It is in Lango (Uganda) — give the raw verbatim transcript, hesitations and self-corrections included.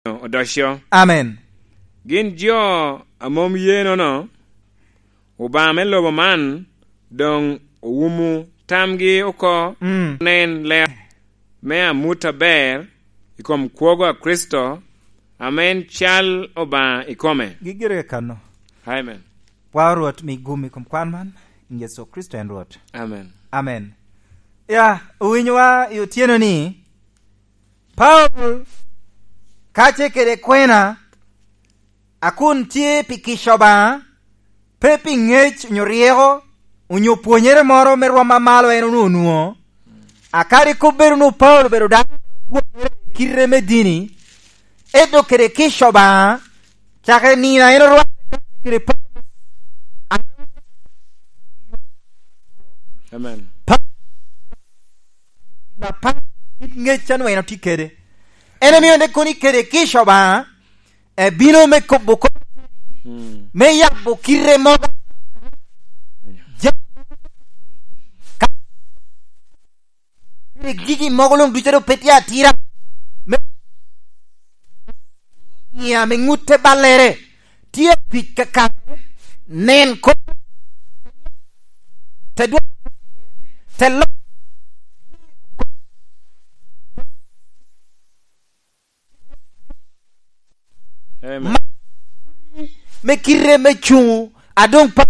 odoco. Amen. Gin jo a mom ye nono, Obaŋa me lobo man doŋ owumo tamgi oko, Mm. nen ler me amut aber i kom kwogo a Kricito, ame en cal Obaŋa ikome. Gigire kano. Amen. Pwao Rwot, mi gum i kom kwan man, i Yecu Kricito en Rwot. Amen. Amen. Ya, owinyowa i otyeno ni, Paulo, kace kede kwena, a kun tye pi kica Obaŋa, pe pi ŋec onyo ryeko, onyo pwonyere moro me rwom a malo en onwoŋo onwoŋo, a kadi kop bedo onwoŋo Paulo obedo dano pwonyere i kite me dini, ento kede kica Obaŋa, cakere nino a en orwatte kace kede Paulo, Amen. Apar kit ŋec a nwen otye kede. En omio ni kono i kede kica Obaŋa, ebino me kobo kop, Mm. me yabo kite mogo. Ja-, ka-, kede gigi mogo luŋ ducu a doŋ pe tye atira. Me, iya me ŋutte ballere. Tye apic kakare, nen kop, te dwoko, te lo-, Amen. Ma-, me kite me cuŋ, a doŋ pa-,